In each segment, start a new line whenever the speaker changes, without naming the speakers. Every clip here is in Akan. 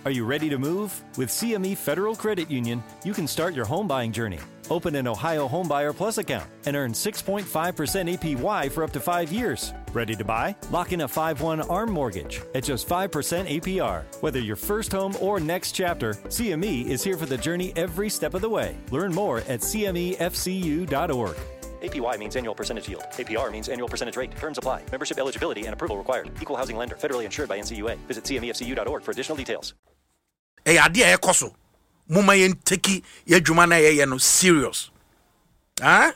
Are you ready to move? With CME Federal Credit Union, you can start your home buying journey. Open an Ohio Homebuyer Plus account and earn 6.5% APY for up to 5 years. Ready to buy? Lock in a 5/1 ARM mortgage at just 5% APR. Whether your first home or next chapter, CME is here for the journey every step of the way. Learn more at cmefcu.org. APY means annual percentage yield. APR means annual percentage rate. Terms apply. Membership eligibility and approval required. Equal housing lender. Federally insured by NCUA. Visit cmefcu.org for additional details.
Ɛyɛ adeɛ a ɛkɔ so. Momma yɛn take yɛn adwuma no a yɛyɛ no serious. Ah?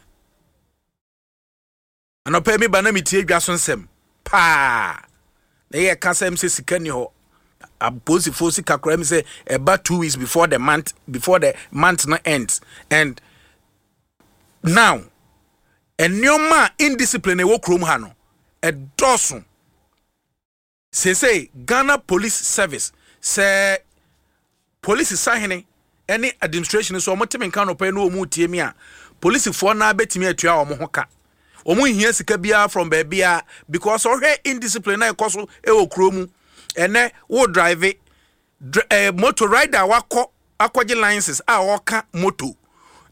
Anɔpa mi ba na metie dwa so nsɛm paa. Na yɛ ka sɛm sɛ sika ni hɔ. Apolisifoɔ sika koraa mi sɛ ɛba 2 weeks before the month no ends. And now nneɛma a indiscipline ɛwɔ kurom ha no ɛdɔɔso. Seesei Ghana Police Service, sɛ polisi sahene ne administration so wɔn te me nka nɔpɛ yi na wɔn tie mi a, polisifoɔ naa bɛtumi atua wɔn ho ka. Wɔn nhia sika biara from baabiara because ɔhwɛ indiscipline na ɛkɔ so ɛwɔ kuro mu. Ɛnɛ wo drive motor rider wakɔ akɔgye license a ɔka moto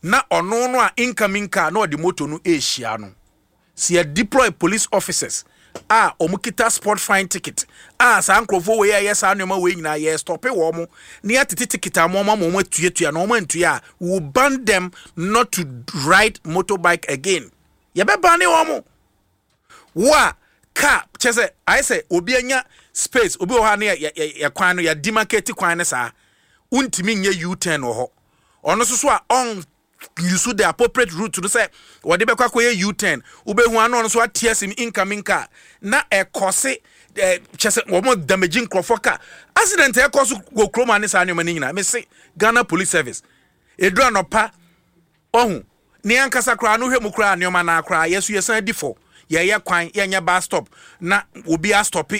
na ɔno no a incoming car na ɔde moto no ɛrehyia no. Si yɛ deploy police officers a wɔn kita spot fine ticket a, saa nkurɔfoɔ wei a ɛyɛ saa nneɛma wei nyinaa yɛ stop wɔn na yɛatete ticket a wɔn ama wɔn atuatua na wɔn antua a, we will ban them not to ride motorbike again. Yɛbɛban ne wɔn. Wo a car kyɛ sɛ ayɛ sɛ obi anya space, obi wɔ hɔ a ne yɛ yɛ yɛ kwan no yɛ demarcate kwan ne saa, wontumi nyɛ U-turn wɔ hɔ. Ɔno nso so a ɔn use the appropriate route no sɛ wɔde bɛkɔ akɔyɛ U-turn, wobɛhu ano ɔno nso ate asim incoming car na ɛkɔ se kyɛ sɛ wɔn damage nkurɔfoɔ car. Accident ɛkɔ so wɔ kurom a ne saa nneɛma no nyinaa, mese Ghana Police Service, ɛduru anɔpa ɔhu ne ankasa koraa no hwɛ mu koraa nneɛma naa koraa yɛso yɛsan di fɔ. Yɛyɛ kwan, yɛnyɛ bus stop na obi astop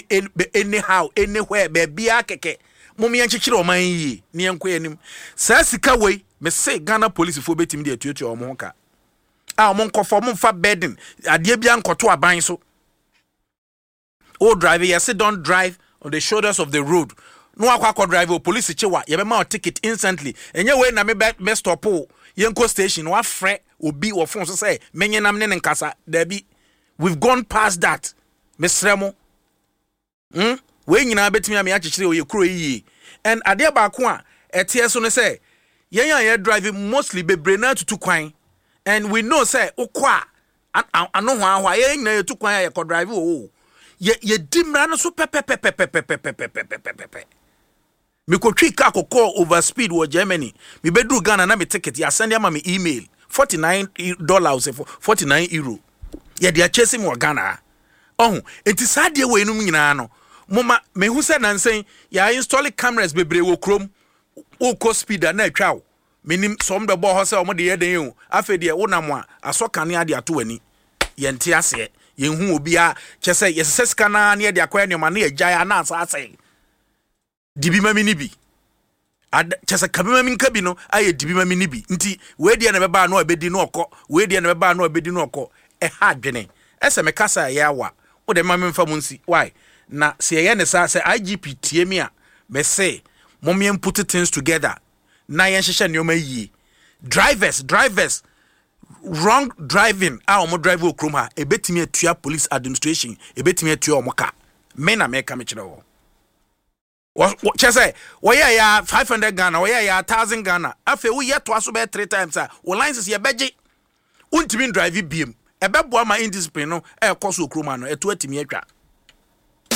anyhow, anywhere, baabiara kɛkɛ. Mom yɛnkyekyere ɔman yie ne yɛnkɔ yɛn anim. Saa sika wei, mese Ghana polisifoɔ bɛtumi de atuatua wɔn ho ka a wɔn nkɔfɔ wɔn mfa burden adeɛ bi ankɔto aban so. O drive, yɛse don't drive on the shoulders of the road na wakɔ akɔ drive o, police kye wa, yɛbɛma o ticket instantly. Ɛnyɛ wei na me bɛ bɛ stop o, yɛnkɔ station na wafrɛ obi wɔ phone so sɛ menye nam ne ne nkasa. Dabi, we've gone past that. Mesrɛ mo, Wei nyinaa bɛtumi ame akyekyere ɔyɛ kuro yi yie. And adeɛ baako a ɛteɛ so no sɛ yɛn a yɛ drive mostly bebree na atutu kwan, and we know sɛ wokɔ a ano hɔ ahɔ a yɛn nyinaa yɛtu kwan a yɛkɔ drive wɔ hɔ, yɛ yɛdi mmara no so pɛpɛpɛpɛpɛpɛpɛpɛpɛpɛ. Mekɔtwi car kɔkɔɔ over speed wɔ Germany, mebɛduru Ghana na me ticket yɛasɛnde ama me email, $49, €49 yɛde akyɛ si me wɔ Ghana ha. Ɔho nti saa adeɛ wɔ enum nyinaa no, moma mehu sɛ nansɛn yɛ install cameras bebree wɔ kurom. Wokɔ speed a na atwa wo. Menim sɛ ɔmo bɛbɔ hɔ sɛ ɔmo de yɛ den o. Afei deɛ wonam a asɔ kanea de ato w'ani. Yɛnte aseɛ, yɛnhu obiara kyɛ sɛ yɛsesɛ sika naa ne yɛde akɔyɛ nneɛma ne yɛgyae a na asa asɛe. Dibi ma mi ni bi kyɛ sɛ kabi ma mi nka bi no ayɛ dibi ma mi ni bi. Nti wei deɛ na ɛbɛba ano a ɛbɛdi no ɔkɔ, wei deɛ na ɛbɛba ano a ɛbɛdi no ɔkɔ. Ɛha adwene ɛsɛ meka sɛ ɛyɛ awa wo de ma mi nfa mu nsi why na sɛ yɛyɛ ne saa sɛ IGP tie mi a, mɛse mo yɛn put things together na yɛn hyehyɛ nneɛma yie. Drivers wrong driving a wɔn drive wɔ kurom ha, ebetumi atua police administration, ebetumi atua wɔn ka. Me na mɛka me kyerɛ wɔn kyɛ sɛ wɔyɛ ya 500 Ghana, wɔyɛ ya 1,000 Ghana. Afei woyɛ toa so bɛyɛ three times a, wo license yɛbɛgye, wontumi ndrive biem. Ɛbɛboa ma indiscipline no ɛɛkɔ so wɔ kurom ha no ɛto atumi atwa.